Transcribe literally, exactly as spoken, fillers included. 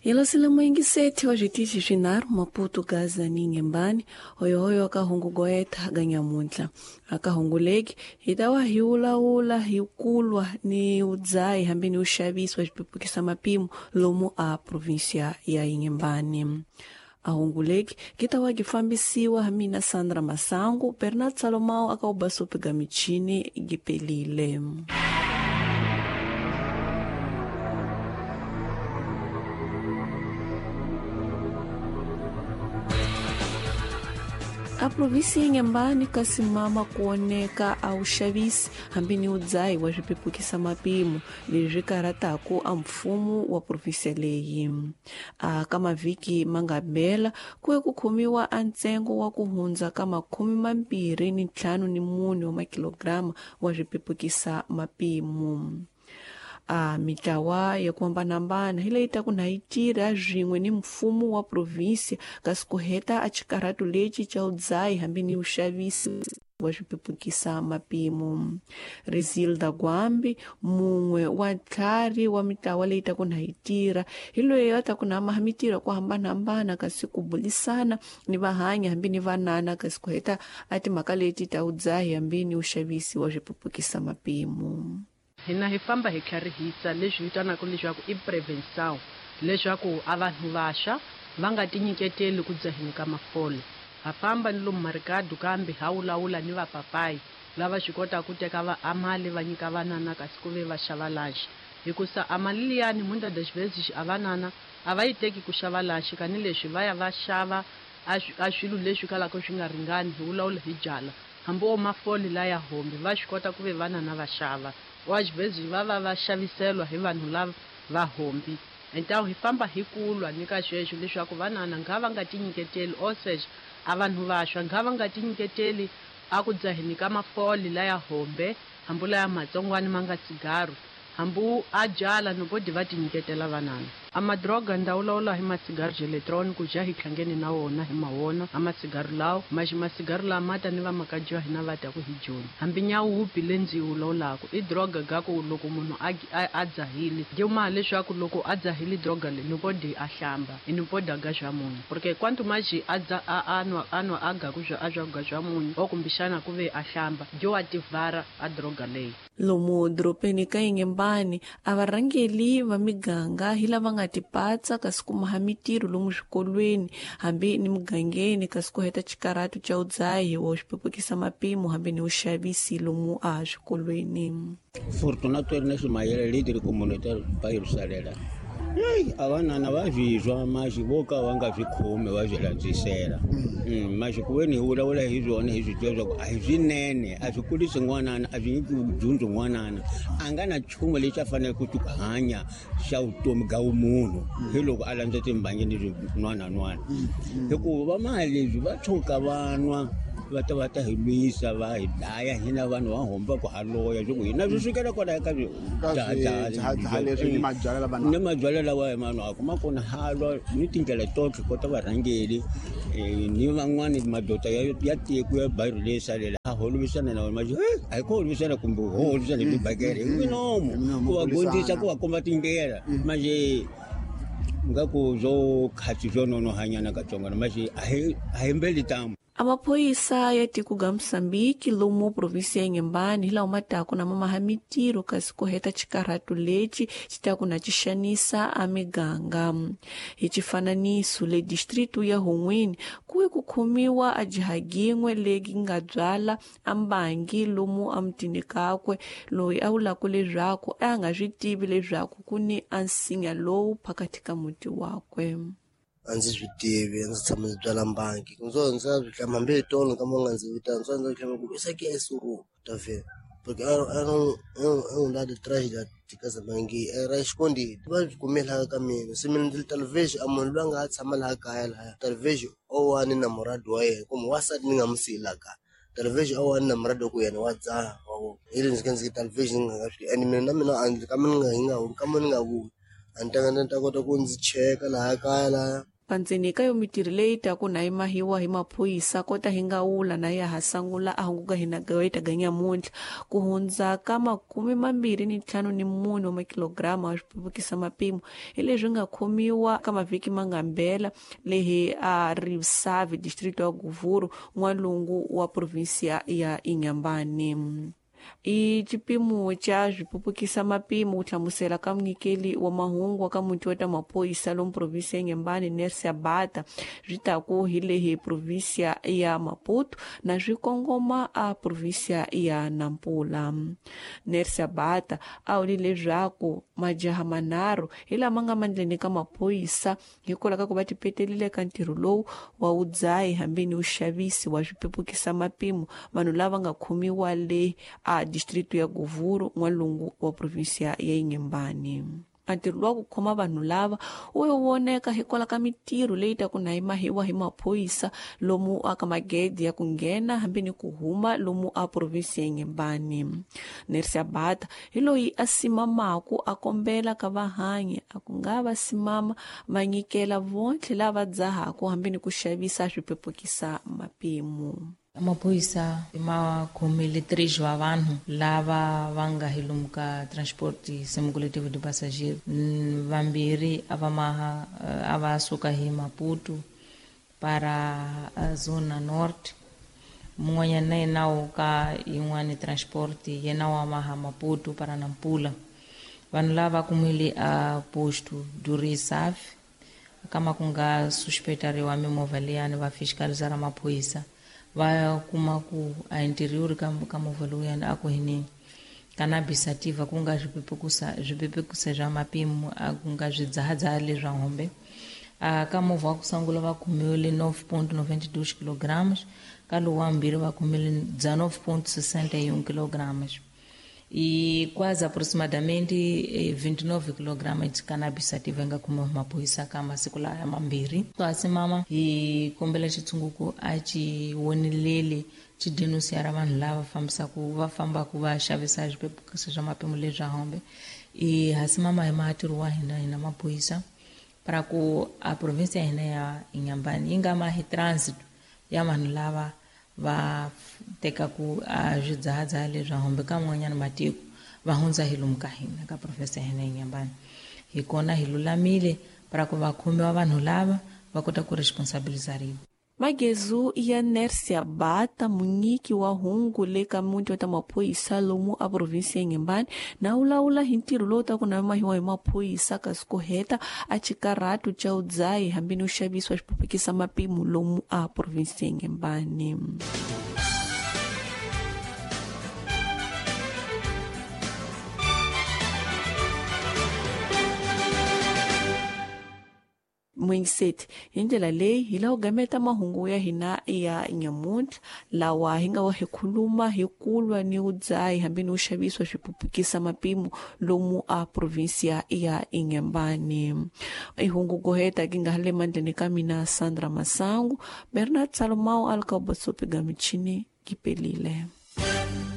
Yelosile moingiseti wa zvitichi swinharhu Maputo, Gaza ni Inhambane, hoyohoyo akahungu goetha ganyamuntla. Akahunguleki hi ta wa hi wulawula hi kulwa ni udzayi hambi ni uxavisi wa xipepukisa mapimo lomu a província ya Inhambane. Ahunguleki ki ta wa gi fambisiwa ha mina Sandra Masangu, Bernard Salomao akaubasopi ga michini gipelile. A província ya Inhambane kasimama kuoneka a uxavisi hambi ni udzayi wa swipepukisa mapimo leswi karhataku a mfumo wa província leyi. A ka mavhiki ma nga bela ku ye ku khomiwa a ntsengo wa ku hundza ka makhume mambirhi ni ntlhanu ni mune wa makilograma wa swipepukisa mapimo. A mitlawa ya ku hambanahambana hi leyi ta ku na yi tirha swin'we ni mfumo wa província kasi ku heta a xikarhatu lexi xa udzayi hambi ni uxavisi wa swipepukisa mapimo. Rizilda Gwambi, mun'we wa ntlhari wa mitlawa leyi ta ku na yi tirha, hi loyi a ta ku na maha mitirho ku hambanahambana kasi ku bulisana ni vahanya hambi ni vanana kasi ku heta a timhaka leti ta udzayi hambi ni uxavisi wa swipepukisa mapimo. Hina hi famba hi tlharihisa leswi vitanaka leswaku i prevenção, leswaku a vanhu vaxa va nga tinyiketeli ku dzaheni ka mafole. Ha famba ni lomu marikadu kambe ha wulawula ni vapapayi lava swi kotaka ku teka va amali va nyika vanana kasi ku ve va xava lunch. Hikusa amali liyani muitas das vezes a vanana a va yi teki ku xava lunch kanileswi va ya va xava a swilo leswi kalaka swi nga ringani, hi wulawula hi byala. Hambi wo mafole laya hombe va swi kota ku ve vanana va xava. Ou às vezes va va va xaviselwa hi vanhu lava va hombi. Então hi famba hi kulwa ni ka sweswo leswaku vanana nga va nga tinyiketeli, ou seja, a vanhu vaxwa nga va nga tinyiketeli a ku dzaheni ka mafole laya hombe, hambi laya matsongwani ma nga cigarro, hambi a byala no bodi va tinyiketela vanana. A madroga ndawulawula hi macigarro eletronico ja hi tlhangeni na wona hi mawona a macigarro lawo maxi macigarro lama mata ni vamakadyi wa hina va ta ku hi joni. Hambi nyawupi le ndzi yi wulawulaku i droga ga ku loko munhu a a dzahile dima leswaku loko a dzahile droga le ni bodi a hlamba i ni bodi ga swa munhu, porque quanto mais a dza a anwa anwa a ga ku swa a swa ga swa munhu o kumbexana ku ve a hlamba dyo wa tivhara a droga leyi. Lomu doropeni ka Inhambane a varhangeli va miganga hi lava nga tipatsa kasi ku maha mitirho lomu swikolweni hambi ni mugangeni kasi ku heta xikarhatu xa udzayi wa xipepukisa mapimo hambi ni uxavisi lomu a swikolweni. Fortunato Ernesto Mayele, líder comunitário bairro Salela. Ei, a vanana va zvizwa maxi vo ka va nga swi khomi va swi landzisela. Maxi ku ve ni hi vulavula hi swona hi swi tiva swa ku a hi swinene, a swi kulisi n'wanana, a swi nyiki dyondzo n'wanana. A nga na nchumu lexi a faneleke ku hanya xa vutomi ga vumunhu hi loko a landza timbangi ni swin'wanan'wana. Hikuva va mali leswi va tshuka va nwa va ta va ta hi lwisa va hi dlaya hina vanhu va homba ku ha loya swa ku hina swi sukela kwalaya ka ni mabyalwa lawa hi ma nwaka ma kona halwa ni tindlela totlhe kota varhangeli ni van'wani madoda ya ya tiko ya bairro leyi salela a holovisana na wona a hi ku holovisana kumbe ho holovisana hi tibakele hi minomo ku va gondzisa ku va komba tindlela manje nga ku byo khatsi byo nonohanyana katsongwana manje a hi a hi mbeli tamu. Amaphoyisa ya tiko ga Moçambique lomu província ya Inhambane hi lawa ma taku na mamaha mitirho kasi ku heta xikarhatu lexi xi taku na xi xanisa a miganga. Hi xifananiso le distrito ya Hun'wini ku ye ku khomiwa a jihagin'we legi nga byala a mbangi lomu a mutini kakwe loyi a vulaka leswaku a nga swi tivi leswaku ku ni a nsinya lowu phakathi ka muti wakwe. A ndzi swi tivi, a ndzi tshama ndzi byala mbangi ndzo ndzi swi hlamba hambi hi tolo ka nga ndzi vitana ndzo ndzi hlamba ku isso aqui é suru tá vendo porque era era um um um lado atrás da de casa mangi era escondido va swi kume laha ka mina se mina ndzi talvez a munhu loyi a nga tshama laha kaya laha talvez o wa ni namorado wa yena kumbe wansati ni nga n'wi siyi laha kaya talvez o wa ni namorado wa ku yena wa dzaha wa vona hi le ndzi ka ndzi talvez ni nga swi and mina na mina a ndzi ka mina ni nga hi nga ka mina ni nga vuli a ni ta ni ta kota ku ndzi cheka laha kaya laha. Pandzeni ka yo mitirho leyi taku na yi mahiwa hi maphorisa kota hi nga wula na ya ha sangula a hunguka hina gaita ganyamuntlha ku hundza ka makume mambirhi ni ntlhanu ni mune wa makilograma wa swipepukisa mapimo hi leswi nga khomiwa ka mavhiki ma nga mbela lehi a Risavi district wa Govuro n'walungu wa provinsia ya Inhambane. I xipimo xa swipupukisa mapimo ku hlamusela ka munyikeli wa mahungu wa ka muti wa ta maphorisa lomu provinsi ya Inhambane Nercia Bata swi taku hi lehi provinsia ya Maputo na swi kongoma a provinsia ya Nampula. Nercia Bata a vule leswaku majaha manharhu hi lama nga mandleni ka maphorisa hikwalaho ka ku va tipetelile ka ntirho lowu wa wudzahi hambi ni wuxavisi wa swipepukisa mapimo vanhu lava nga khomiwa le a distrito ya Govuro n'walungu wa provinsia ya Inhambane. Ntirho wa ku khoma vanhu lava wu voneka hikwalaho ka mitirho leyi taku na yi mahiwa hi maphorisa lomu aka magede ya ku nghena hambi ni ku huma lomu a provinsi ya Inhambane. Nercia Bata hi loyi a simamaku a kombela ka vahanyi a ku nga va simama va nyikela vontlhe lava dzahaku hambi ni ku xavisa swipepukisa mapimo. Maphorisa ma khomile três wa vanhu lava va nga hi lomu ka transport semicoletivo de passageiro. Vambirhi a va maha a va suka hi Maputo para a zona norte, mun'wanyana na yena wo ka yin'wani transport yena wa maha Maputo para Nampula. Vanhu lava kumile a posto do Recife kama ku nga suspetariwa mimovha liyani va fiscalizara maphorisa va kuma ku a interior ka ka movha lowuyani a ku hini cannabis sativa ku nga swipepekusa swipepekusa swa mapimo a ku nga swidzahadzaha leswa hombe. A ka movha wa ku sungula va kumiwile nove ponto noventa e dois quilogramas, ka lowu wa mbirhi va kumile dezenove ponto sessenta e um quilogramas e quase aproximadamente vinte e nove quilogramas de cannabis sativa nga kumiwa maphorisa ka masiku laya mambirhi. Kasi mama hi kombela xitshunguku a xi woneleli xi denunciara vanhu lava fambisaku va fambaku va xavisa swipepukisa swa mapimo leswa hombe. I hasi mama hi matirho wa hina hina maphorisa para ku a provinsia ya hina ya Inhambane yi nga mahi transit ya vanhu lava va tekaku a swidzahadzaha leswa hombe ka man'wanyana matiko va hundza hi lomu ka hina ka provinsi ya hina ya Inhambane. Hi kona hi lulamile para ku va khomiwa vanhu lava va kota ku responsabilizariwa. Magezu ya Nercia Bata munyiki wa hungu le ka muti wa ta maphorisa lomu a provinsi ya Inhambane na wulawula hi ntirho lowu taku na mahiwa hi maphorisa kasi ku heta a xikarhatu xa wudzahi hambi ni xavisiwa xipupukisa mapimo lomu a provinsi ya Inhambane. Mwingiseti hi ndlela leyi hi lava ku gameta mahungu ya hina ya nyamuntlha lawa hi nga wa hi khuluma hi kulwa ni wudzahi hambi ni wuxavisiwa swipupukisa mapimo lomu a provinsia ya Inhambane. I hungu goheta ki nga le mandleni ka mina Sandra Masangu, Bernard Salomao alika bosopi ga michini kipelile.